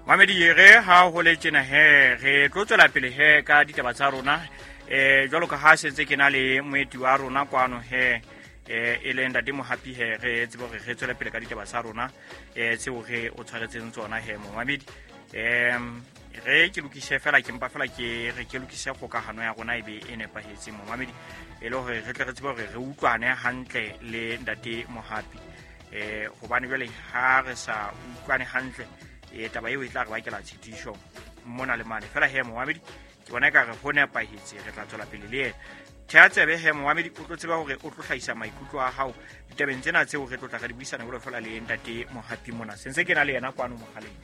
Mamedi, re ha ho le tjena he, re tlo tswela pele he ka ditaba tsa rona. Jwalo ka ha sentse ke na le moeti wa rona kwano he, e leng Ntate Mohapi he, re tsebe hore re tswele pele ka ditaba tsa rona tseo re o tshwaretseng tsona he, momamedi. Re ke lokise fela, ke mpa fela ke re ke lokise kgokahano ya rona e be e nepahetseng, momamedi, e le hore re tle re tsebe hore re utlwane hantle le Ntate Mohapi. Hobane jwale ha re sa utlwane hantle, taba eo e tla re bakela tshitiso mona le mane fela he, momamedi. Ke bona ekare ho nepahetse, re tla tswela pele le yena. Thea tsebe he, momamedi, o tlo tseba hore o tlo hlahisa maikutlo a hao ditabeng tsena tseo re tlo tla re di buisana jwalo fela le Ntate Mohapi mona. Sentse ke na le yena kwano mogaleng,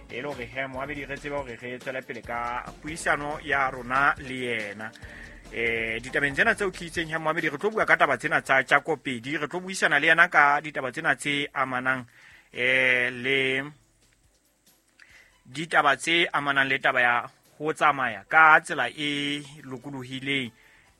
e le hore he, momamedi, re tsebe hore re tswele pele ka puisano ya rona le yena. Ditabeng tsena tseo ke itseng he, momamedi, re tlo bua ka taba tsena tsa tjakopedi. Re tlo buisana le yena ka ditaba tsena tse amanang le ditaba tse amanang le taba ya ho tsamaya ka tsela e lokolohileng,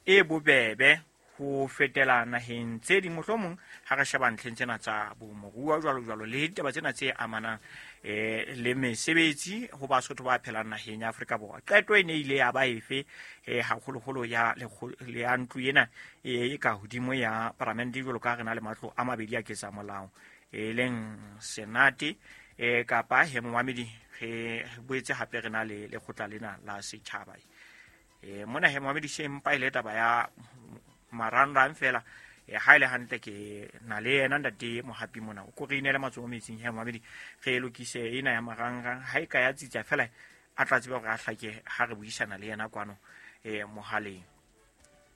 e bobebe, ho fetela naheng tse ding, mohlomong ha re sheba ntlheng tsena tsa bomoruo jwalo jwalo, le ditaba tsena tse amanang le mesebetsi ho Basotho ba phelang naheng ya Afrika Borwa. Qeto e ne ile ya ba efe, haholoholo ya ya ntlo ena e ka hodimo ya paramente, jwalo ka re na le matlo a mabedi a ketsa molao, e leng Senate kapa he, momamedi, re boetse hape re na le lekgotla lena la setjhaba. Mona he, momamedi, se mpa ile taba ya marangrang fela. Ha ile hantle ke na le yena Ntate Mohapi mona, o ko re inele matsoho metsing he, momamedi, re lokise ena ya marangrang. Ha e ka ya tsitsa fela, a tla tseba hore a hlake ha re buisana le yena kwano mohaleng.